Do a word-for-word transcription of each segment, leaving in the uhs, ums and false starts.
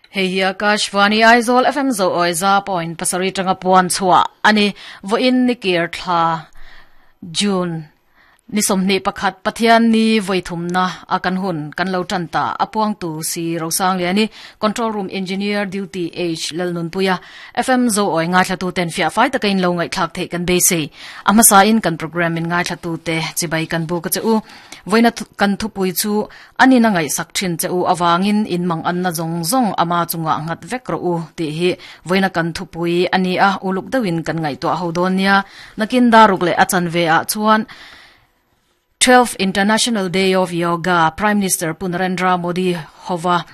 Hei hi Akashvani Aizawl F M zo oi za point pasarih tanga puan chhuah ani. Voin nikir thla June ni sawmhnih pakhat, Pathian ni voithumna a kan hun kan lo tan ta. Apuang tu si Rosang liani, control room engineer duty H Lalnun Puya. F M zo oi nga thlatu ten fia fai takin lo ngai thlak thei kan be sei amasa in kan program in ngai thlatu te chibai kan bu ka chu. Voina kan thu pui chu ani na ngai sak thin che u awangin in mang an na zong zong ama chunga ngat vek ro u ti hi voina kan thu pui ani a. Uluk dawin kan ngai to ho don nia. Nakin daruk le achan ve a chuan twelfth International Day of Yoga, Prime Minister Pu Narendra Modi hova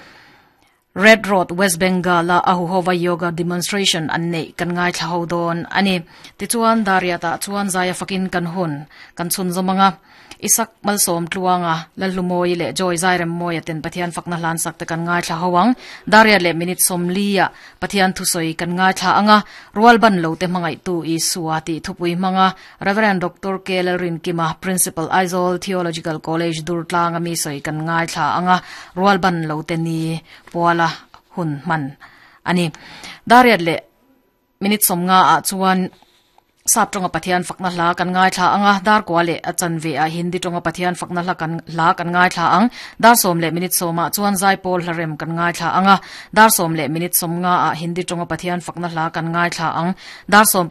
Red Road, West Bengal la ahu hova yoga demonstration an nei kan ngai thla ho don ani. Ti chuan daria ta chuan zaya fakin kan hun kan chun zomanga Isak Malsom Tluanga, Lalumoi le Joy Zairem Moya ten Pathian fakna hlan sak te kan ngai thla howang. Daria le minute som lia Pathian thu soi kan ngai thla anga. Rual ban lo te mangai tu i suati thupui manga Reverend Doctor K Rin Kima, Principal, Aizawl Theological College, Durtlang ami soi kan ngai thla anga. Rual ban lo te ni puala hun man ani. Dariat le minute som nga a chuan sap tonga Pathian fakna hla kan ngai thla anga. Dar kwa le achan ve a Hindi tonga Pathian fakna hla kan hla kan ngai thla ang. Dar som le minute soma chuan zai pawl hlarem kan ngai thla anga. Dar som le minute som nga a Hindi tonga Pathian fakna hla kan ngai thla ang. Dar som